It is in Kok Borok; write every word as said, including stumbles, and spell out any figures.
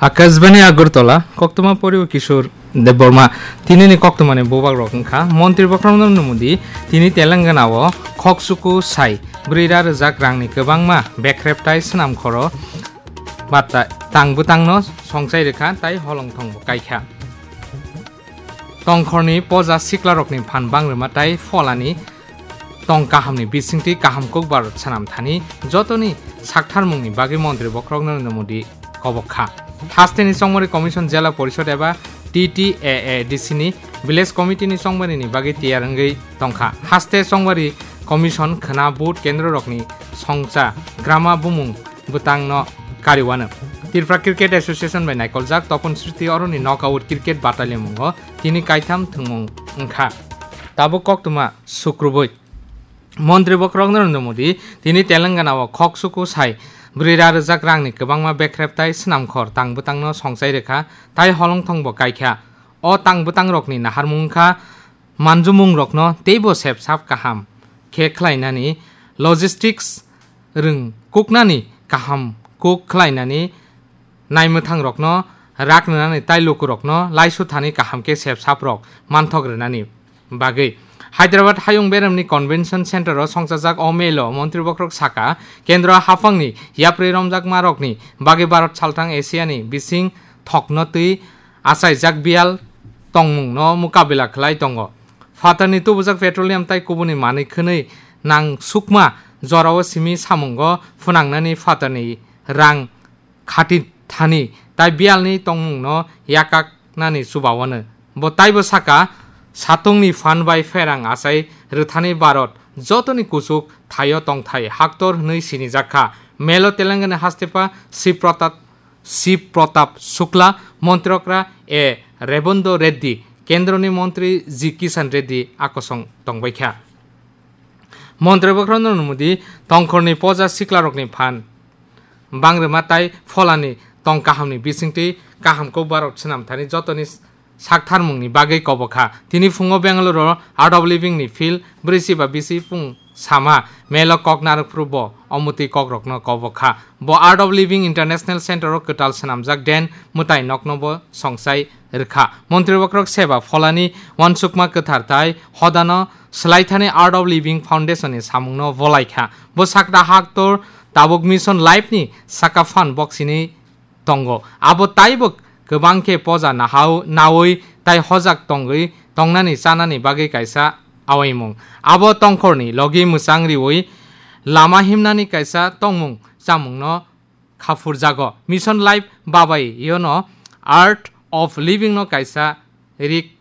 Akashbani Agartala, koktwma poribo Kishore Debbarma. Tinini koktwmani bubak rok wngkha, Montri Bokhorok Narendra Modi tini Telangana o khoksuku sai bwrwi ra rwjak rangni kwbangma bekrep tai swnam khoro ba ta-, tang bwtangno songchai rwkha tai holongthongbo kaikha. Tongkhorni poja siklarokni phan bangrwma tai pholani tong kahamni bisingtwi kaham kokbar swnam thani jotoni saktharmungni bagwi Montri Bokhorok Narendra Modi kobok kha. Hasteni Chongmari Commission Jela Porishod eba T T A A D C ni Village Committee ni chongmarini bagwi tiyar wngwi tongkha. Haste Chongmari Commission khwna vote kendrorokni songcha grama bumung bwtangno kariwano. Tripura Cricket Association bai naikoljak Topon Sriti Aroni Knockout Cricket Battalion mungo tini kaitham thwngmung wngkha. Tabuk koktwma sukrubui. Montri Bokhorok Narendra Modi tini Telangana o khoksuku sai bwrwi ra rwjak rangni kwbangma bekrep tai swnamkhor tang bwtangno songchai rwkha tai holongthongbo kaikha. O tang bwtangrokni naharmung wngkha manjumungrokno teibo sepsap kaham khe khlainani, logistics rwng kuknani kaham kuk khlainani, naimwthangrokno rak rwnani tai lukurokno laisu thani kaham khe sepsaprok manthok rwnani bagwi. Hyderabad Hayung Beremni Convention Center o songchajak o melo Montri Bokhorok saka, Kendro haphangni yapri romjakmarokni bagwi Bharat salthang Asiani bising thokno twi achaijak biyal tongmungno mukabila khlai tongo. Phatarni tubujak petroleum tai kubuni manwi khwnwi nang sukma jorao simi samungo phwnangnani phatarni rang khati thani tai biyalni tongmungno yakaknani chubawano. Bo taibo saka, satungni phan bai pherang achai rwthani Bharat jotoni kuchuk thaio tongthai haktor hwnwi sinijak kha. Melo Telangana hastepha Shiv Pratap, Shiv Pratap Shukla, Montrokra A Rebonto Reddy, Kendroni Montri G Kishan Reddy akosong tongbaikha. Montri Bokhorok Narendra Modi tongkhorni poja siklarokni phan bangrwma tai pholani tong kahamni bisingtwi kaham kokbarok swnam thani jotoni saktharmungni bagwi kobok kha. Tini phungo Bengaluru Art of Living ni field bwrwi chiba bisi phung sama melo kok narwk phuru bo omotwi kokrokno kobok kha. Bo Art of Living International Center o kwtal swnamjak den mwtai nokno bo songchai rwkha. Montri Bokhorok seba pholani uansukma kwthar tai hodano swlaithani Art of Living Foundation ni samungno bolaikha. Bo sakta haktor tabuk Mission Life ni saka phan boksini tongo. Abo taibo kwbang khe poja nahao-, naui tai hojak tongwi tongnani chanani bagwi kaisa awaimung. Abo tongkhorni logi mwchang riui lama himnani kaisa tongmung chamungno khapurjago. Mission Life babai yono Art of Living no kaisa rik